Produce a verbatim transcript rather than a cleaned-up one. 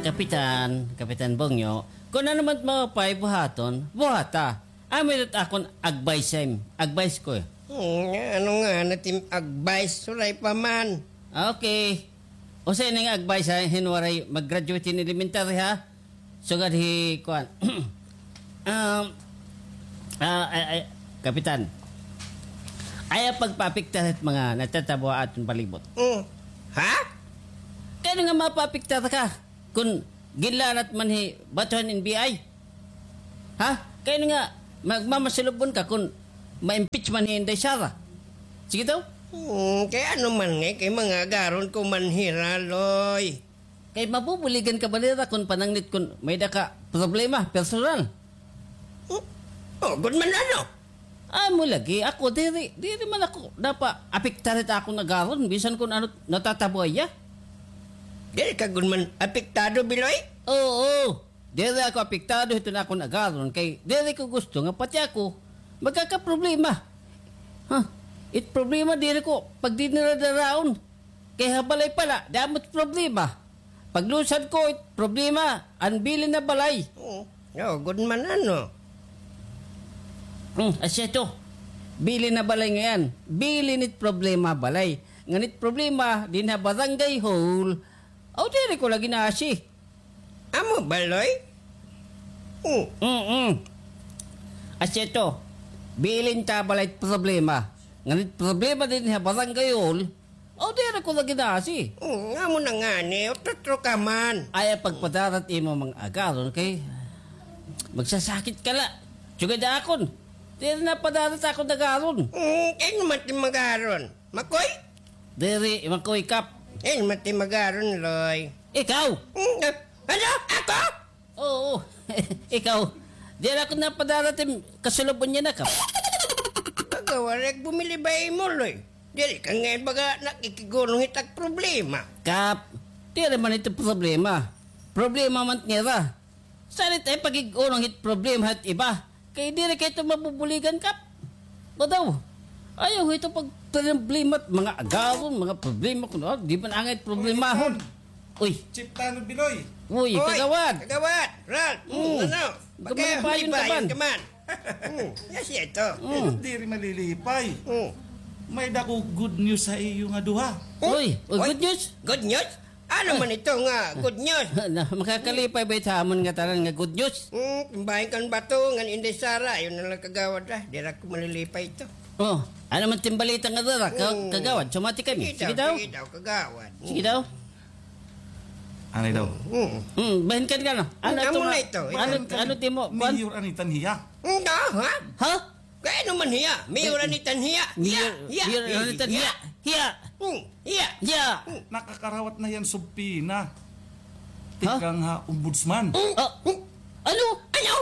Kapitan, Kapitan Bongyo, kon ano man maupay buhaton, buhata. Amo ito akon advice, em, advice ko, eh. Hmm, ano nga, natim advice, suray pa man. Okay. Usa ini nga advice, ha, hin waray mag-graduate hin elementary, ha? Sugad hi, kuan. Um, ah, ay, ay, Kapitan. Ayaw pagpaapektar hit mga natatabo ha aton palibot. Hmm. Ha? Kay ano nga mapaapektar ka? Kon ginlanat man hi Batuhan N B I? Ha? Kay ano nga magmamasulubon ka kon ma-impeach man hi Inday Sara? Sige daw? Hmm, kay ano man ngay, kay mga agaron ko man hira, Loy. Kay mabubuligan ka ba nira kon panangnit kon may-ada ka problema, personal? Hmm? Oh, gud man ano? Amo lagi, ako, diri, diri man ako napa-apektar hit akon agaron, bisan kon ano natatabo ha iya. Diri ka gud man apektado, Biloy? Oo, diri ako apektado hiton akon agaron, kay diri ko gusto nga pati ako magkakaproblema. Ha? It problema, diri ko pagdiniradaraon. Kay ha balay pa la, damo it problema. Paglusad ko, it problema, an bilin ha balay. Oo. Oo, gud man ano. Hmm, asya ito. Bilin ha balay ngay-an. Bilin it problema ha balay. Ngan it problema, dinhi ha barangay hall. Aw, diri ko la gin-aasi. Amo ba, Loy? Hmm. Mm-mm. Asya ito. Bilin ta ha balay it problema. Ngan it problema dinhi ha barangay hall. Aw, diri ko la gin-aasi. Hmm, amo na ngani, utro-utro ka man. Ayaw pagpadarat imo mga agaron kay magsasakit ka la. Sugad ha akon. Diri napadarat akon agaron. Hmm, kay ano man it im agaron? Makoy? Diri, Makoy, Kap. Kay ano man it im agaron, Loy? Ikaw? Hmm, ah, ano? Ako? Oo, ikaw. Diri ako napadarat it im kasulub-on niyan, Kap. Kagawad, bumili ba imo, Loy? Diri ka ngay baga nakikig-unong hit ak problema. Kap, diri man ito problema. Problema man nira. Salit ay pakig-unong hit problema hit iba. Kay diri kay ito mabubuligan, Kap. Ba daw? Ayaw ito pagproblema, mga agaron, mga problema kuno, ah, di man angay problemahon. Uy. Chief Tanod Biloy. Uy, Kagawad. Kagawad, Ralph. Hmm, ano? Pagkamapayon ka man. Hmm, yes, ito. Hmm. Diri malilipay. Hmm. May-ada ko good news ha iyo nga duha. Uy, uy, good news? Good news? Ano man ito nga good news? Na, makakalipay ba ito ha amon nga tanan nga good news? Hmm, timbahin kan bato, ngan Inday Sara, ayaw na la, Kagawad, ah. Diri ako malilipay ito. Oh, ano man it im balita nga dara, ka-, Kagawad? Sumati kami. Sige daw. Sige daw, Kagawad. Sige daw. Anay daw. Hmm. Hmm, bahin kan ka, no? Ano ito nga? Ano, ano it imo? Mayor an itan hiya. Hmm, ha? Ha? Kay ano man hiya? Mayor an itan hiya. Hiya, hiya. Mayor an itan hiya. Hiya. Hmm, hiya. Hiya. Hmm. Nakakarawat na hiya hin subpina. Ha? Tikang ha ombudsman. Hmm. Ah, hmm. Ano? Ano?